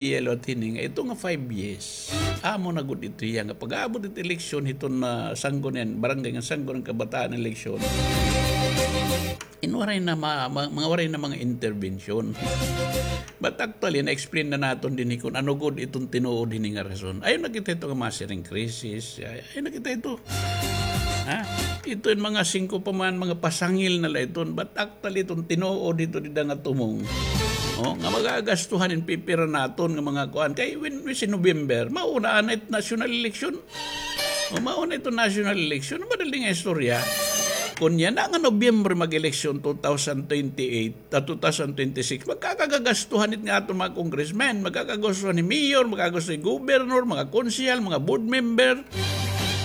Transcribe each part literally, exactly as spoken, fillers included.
idea liwat hini nga ito nga five years, amo na gud ito hiya nga pag-aabot it eleksyon hiton, ah, sanggunian, barangay nga sanggunian kabataan eleksyon. In waray na ma-, ma-, mga waray na mga intervention. But actually, na-explain na naton dinhi kon ano gud iton tinuod hini nga rason. Ayaw na kita ito nga masiring crisis. Ay-, ayaw na kita ito. Ha? Ito in mga singko pa man, mga pasangil na la iton. But actually, iton tinuod ito dida nga tumong. O, nga magagastuhan in pipira naton nga mga kuan. Kay when we see November, mauna na it national election. O, mauna ito national election. Madali nga istorya. Kon yana nga Nobyembre mag-eleksyon two thousand twenty-eight, ah, two thousand twenty-six, magkakagagastuhan it nga aton mga congressmen, magkakagastuhan ni mayor, magkagastuhan ni governor, mga konsehal, mga board member.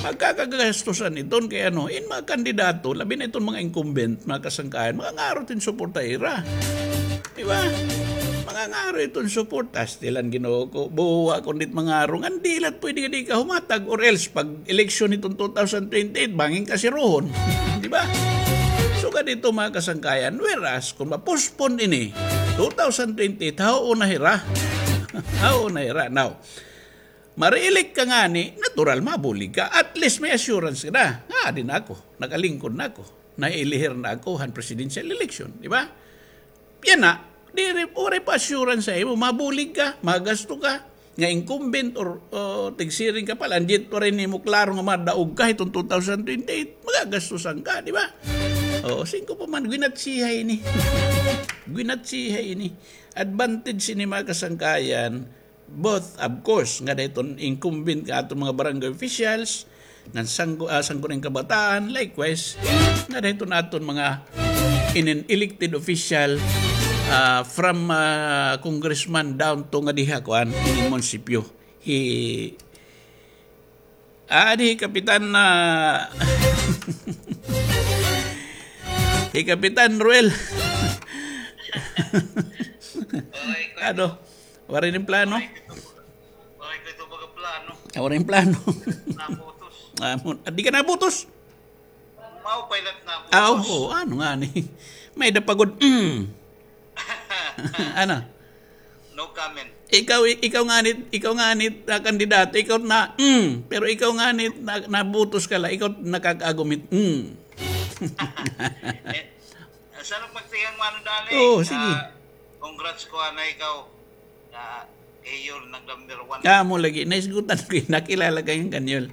Magkakagastusan iton kay ano, in mga kandidato, labi na iton mga incumbent, mga kasangkayan, mga ngaro iton suporta ira. Di ba? Mga ngaro iton suporta, stilan Ginoo ko, buwa kon dit mga ngaro, ngan di la pwede nga di ka humatag, or else, pag eleksyon iton two thousand twenty-eight, bangin ka sirohon. Di ba? So, ganito, mga kasangkayan, whereas, kung ma-postpone ini, two thousand twenty-eight, hao na hira. Hao na hira. Now, ma-re-elect ka ngani, natural, mabulig ka. At least may assurance ka na. Nga, di na ako. Nakalingkod na ako. Nailihir na ako han presidential election. Di ba? Yana, diri, waray pa assurance ha imo. Mabulig ka, magasto ka. Nga incumbent or, o, tigsiring ka pa la, and yet waray nimo klaro nga madaog ka hiton two thousand twenty-eight. Magagastusan ka, di ba? O, singko pa man, gwinatsiha ini. Gwinatsiha ini. Advantage ini, mga kasangkayan. Both, of course, ngada hiton incumbent nga aton mga barangay officials, ngan sanggo-, ah, sangguniang kabataan, likewise, ngada hiton aton mga inin elected official, ah, from, ah, congressman down to nga diha, kuan, inin munisipyo. Hi, ah, di, Kapitan, ah, hi Kapitan Ruel. Ano? Waray nin plano? Waray ko ito, waray ko ito mga plano. Ah, waray nin plano. Nabutos. Ah, mo-, ah, di ka nabutos? Maupay lang nabutos. Ah, oo, ano ngani? May-ada pa gud, mm. Ano? No comment. Ikaw, ikaw ngani, ikaw ngani na kandidato, ikaw na, mm. Pero ikaw ngani na, nabutos ka la, ikaw nakakaagumit, mm. Eh, Sa magtingin mo, ano, dali? Oo, sige. Ah, congrats ko, ana, ikaw. Ah, Kayol, nag-number one. Ah, amo lagi. Naisgutan ko, nakilala ka nga Kanyol.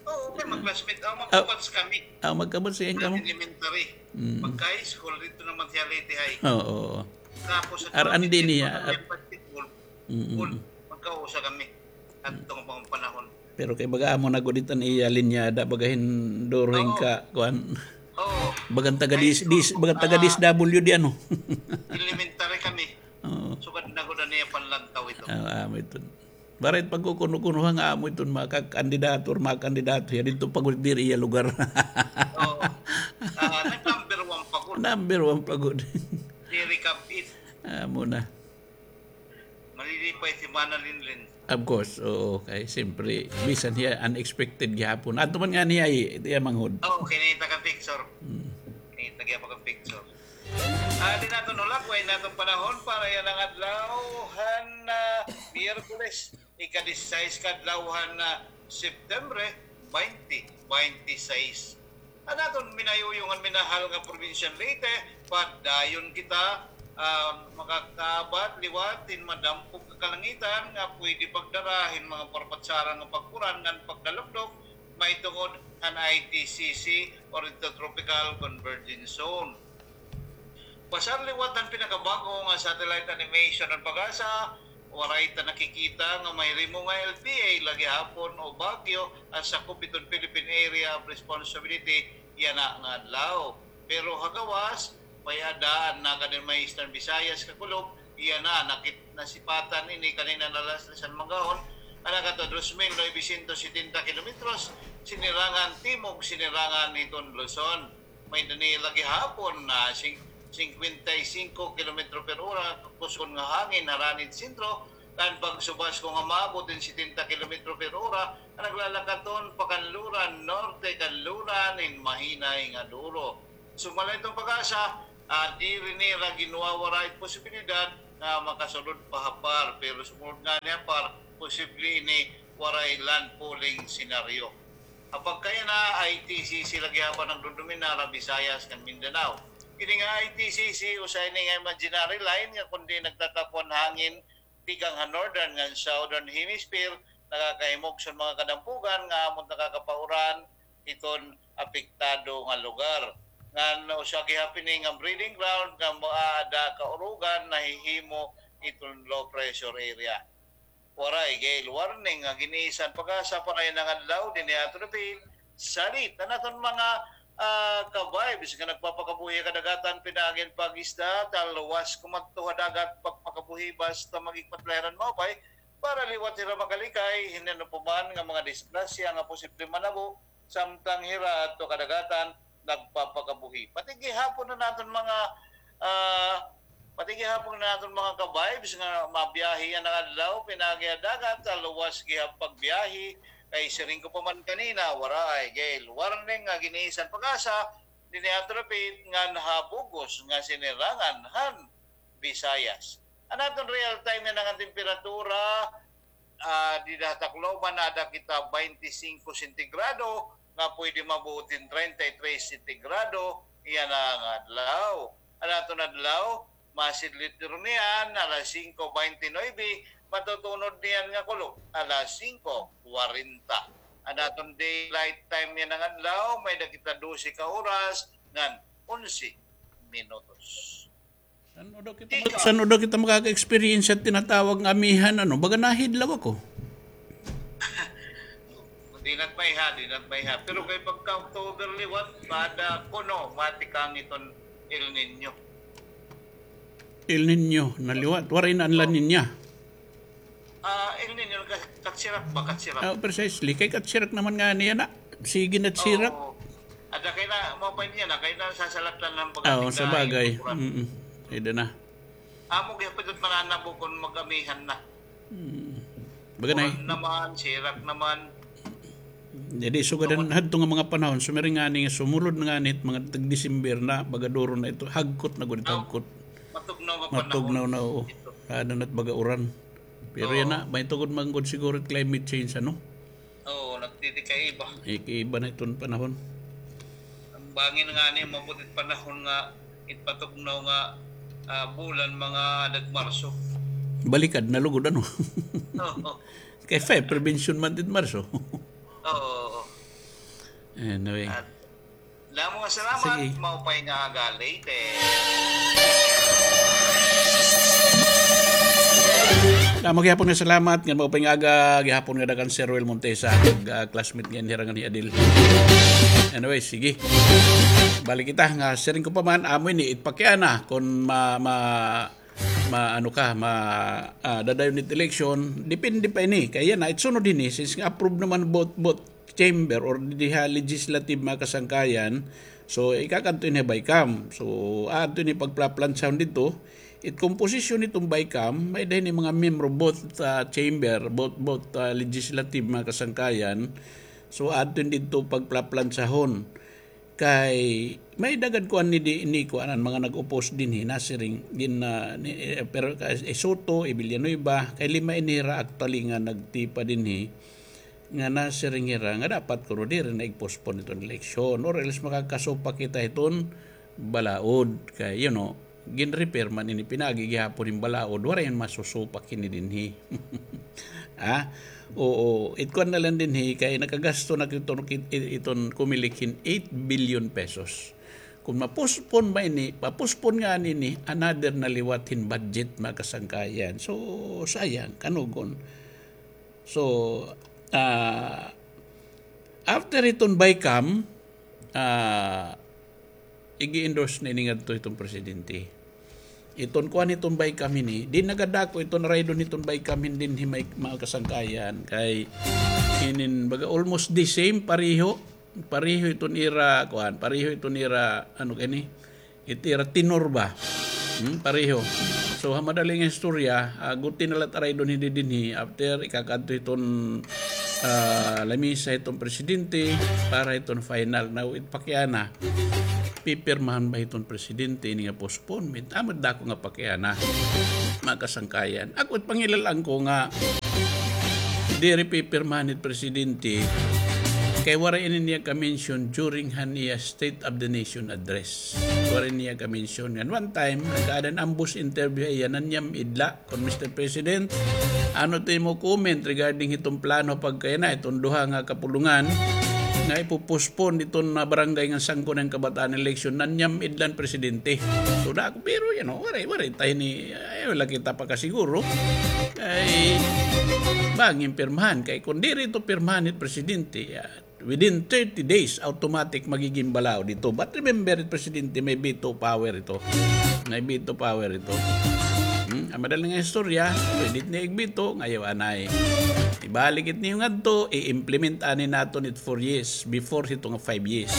Oo, kay mag-classmate. Ah, magka-batch kami. Ah, magka-batch kamo? Elementary. Mm. Magka-high school, dito naman siya Leyte High. Oo, oo. Tapos, sa R and D niya. Basketball, mm, magkausa kami. Adto nga mga panahon. Pero kay baga amo na gud it an iya linyada, baga hin during ka, kuan. Oo. Bagan taga dis-, dis-, bagan taga D S W D, ano? Elementary kami. Oo. Sugad na gud an iya panlantaw ito. Ah, amo iton. Barit pagkukuno-kuno ha nga amo iton mga kandidato or mga kandidato hiya didto pa gud diri iya lugar. Oo. Ah, nag-number one pa gud. Number one pa gud. Diri kabit. Amo na. Malilipay si Mana Linlin. Of course, oo. Kay siyempre, bisan hiya unexpected gihapon. Adto man ngani hiya, iya manghod. Oo, kinita ka picture. Hmm. Kinita gihapon ka picture. Ah, di naton hulagway an aton panahon para yana nga adlaw han, ah, Miyerkules, ika-disisais ka adlaw han, ah, September, twenty twenty-six. An aton minayuyong ngan minahal nga Probinsya han Leyte, padayon kita, ah, makakabat liwat hin madampog nga kalangitan nga pwede pagdara hin mga parpatsaran nga pag-uran ngan pagdalukdok mahitungod han I T C C or Intertropical Convergence Zone. Pasar liwat han pinakabag-o nga satellite animation han PAGASA, waray ta nakikita nga mahirimo nga L P A la gihapon o Baguio an sakop hiton Philippine Area of Responsibility yana nga adlaw. Pero ha gawas, may-ada an nakadirman ha Eastern Visayas kakulob, yana nakit-, nasipatan ini kanina nga alas tres han manggahon, nga nakato dos mil novecientos setenta kilometros, sinirangan timog, sinirangan hiton Luzon. May-ada ini la gihapon nga sing-, singkwenta y singko kilometro per ora, kusgon nga hangin harani hin sentro, kan pagsubas kon maabot hin setenta kilometro per ora, nga naglalakaton pakanluran, norte kanluran, hin mahinay nga duro. Sumala hiton PAGASA, ah, diri nira ginwawara it posibilidad nga makasulod pa ha PAR, pero sumulod ngani ha PAR, posible ini waray landfalling scenario. Ha pagkayana, I T C C la gihapon nagdodomina ha Visayas ngan Mindanao. Kini nga I T C C, usa ini nga imaginary line nga kundi nagtatapon hangin tikang ha northern ngan southern hemisphere, nakakahimok sa mga kadampugan nga amon nakakapauran iton apektado nga lugar. Ngan usa gihapon ini nga breeding ground nga moaada kaurugan nahihimo iton low pressure area. Waray gale warning nga giniisan PAGASA para yana nga adlaw dinhi ha aton Philippines. Salit an aton mga, ah, ka-vibes nga nagpapakabuhi ha kadagatan pinaagi hin pag-isda, talwas kumadto ha dagat pagpakabuhi basta maghigpat la hira hin maupay para liwat hira makalikay hin ano pa man nga mga disgrasya nga posible manabo samtang hira adto kadagatan nagpapakabuhi. Pati gihapon an aton mga, ah, pati gihapon an aton mga ka-vibes nga mabiyahe yana nga adlaw pinaagi ha dagat, talwas gihap pagbiyahe, kay siring ko pa man kanina, waray gale warning nga giniisan PAGASA dinhi ha aton dapit ngan ha bug-os nga sinirangan han Visayas. An aton real time yana nga temperatura, ah, dida ha Tacloban, aada kita baynte singko sentigrado, nga pwede mabuot hin treinta y tres sentigrado yana nga adlaw. An aton adlaw, masidlit niyan alas singko baynte nuebe, matutunod niyan nga kulop alas singko kwarenta. An aton daylight time yana nga adlaw, may-ada kita dose ka oras ngan onse minutos. San-o daw kita mag-, san-o daw kita makaka-experience sa tinatawag nga amihan, ano? Baga nahidlaw ako. Di na it maiha, di na it maiha. Pero kay pagka October liwat, bada kuno, matikang iton El Niño. El Niño na liwat. Waray na an La Niña. Ah, El Niño, ka-, katsirak ba? Katsirak. Ah, precisely. Kay katsirak naman ngani yana. Sige na tsirak. Oo. Ada kay na, mao pa niya na, kay na sasalatan ng pagkating. Oo, sa bagay. Mm-mm. Pwede na. Amo gihapon it mananabo kon mag-amihan na. Mm. Baga na. Uran naman, sirak naman. Jadi, sugad hadto nga mga panahon, sumiring ngani nga sumulod na ngani it mga tag-December na, baga duro na ito, hagkot na gud it hagkot. Matugnaw nga panahon. Matugnaw na, oo. Ano na it baga uran. Pero yana, may tugod man gud siguro it climate change, ano? Oo, nagtitikaiba. Ikiiba na iton panahon. An bangin ngani, maabot it panahon nga, it patugnaw nga, ah, bulan, mga nag-Marso. Balikad na lugod, ano? Oo. Kay fire prevention month it Marso. Oo, oo. Anyway. Damo nga salamat, sige. Maupay nga aga, Leyte. Damo gihapon nga salamat, ngan maupay nga aga, gihapon nga dakan Sir Roel Montesa, ag, ah, classmate ngan hira ngan hi Adil. Anyway, sige. Balik kita nga, siring ko pa man, amo ini, it pakiana, kon ma-, ma-, ma-, ano ka, ma-, ah, dadayon it election, depende pa ini. Kay yana, it sunod hini, since nga approve naman both, both chamber or didi ha legislative mga kasangkayan, so, ikakadto ini ha BICAM. So, aadto ini pagplaplansahon didto. It komposisyon hiton BICAM, may-ada hini mga miyembro both, ah, chamber, both, both, ah, legislative mga kasangkayan. So, aadto ini didto pagplaplansahon. Kay may-ada gad kuan ni di, ni kuan an mga nag-oppose dinhi, nasiring gin, ah, ni, eh, pero, eh, Soto, eh, Villanueva, kay lima ini hira actually nga nagtipa dinhi, nga nasiring hira nga dapat kuno diri na i-postpone iton eleksyon, or else makakasupak kita hiton balaod kay, you know, gin-refer man ini pinaagi gihapon hin balaod, waray man masusupak hini dinhi. Ah, oo, it kuan na lang dinhi kay nakagasto na iton, iton Comelec hin eight billion pesos. Kon ma-postpone ba ini, pa-postpone ngani ini, another na liwat hin budget, mga kasangkayan. So, sayang, kanugon. So, ah, after hiton BICAM, ah, igi-endorse na ini ngadto hiton presidente. Iton kuan hiton BICAM hini, di nagadako iton raydon hiton BICAM hini dinhi, mga kasangkayan, kay hinin baga almost the same, pareho, pareho iton ira, kuan, pareho iton ira, ano kani, it ira tenor ba? Hmm, pareho. So, ha madali nga istorya, ah, guti na la it raydon hini dinhi, after ikakadto hiton, ah, lamisa hiton presidente para hiton final. Now, it pakiana. pipirmahan ba hiton presidente ini nga postponement? Amo dako nga pakiana, mga kasangkayan. Ako, it pangilal-an ko nga diri pipirmahan it presidente, kay waray ini niya ka-mention during han iya State of the Nation address. Waray niya ka-mention. Ngan one time, nagkaada hin ambush interview ha iya, nanyam-id la kon, "Mister President, ano it imo comment regarding hiton plano pagkayana, hiton duha nga kapulongan nga ipo-postpone hiton, ah, barangay ngan sangko han kabataan election?" Nanyam-id la an presidente. So, dako, pero, you know, waray, waray ta hini, ay, wala kita pakasiguro. Kay bangin pirmahan. Kay kon diri ito pirmahan hit presidente, ah, within thirty days, automatic magiging balaod ito. But remember, it presidente may veto power ito. May veto power ito. Hmm? An madali nga istorya, pwede it niya igveto, nga ayaw anay. Ibalik it niyo ngadto, i-implement anay naton it four years, before hito nga five years.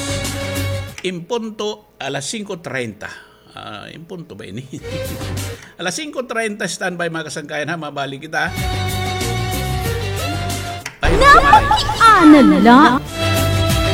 In punto, alas singko treinta. Ah, in punto ba ini? Alas singko treinta, standby, mga kasangkayan, ha, mabalik kita. Ay, Napakiana la.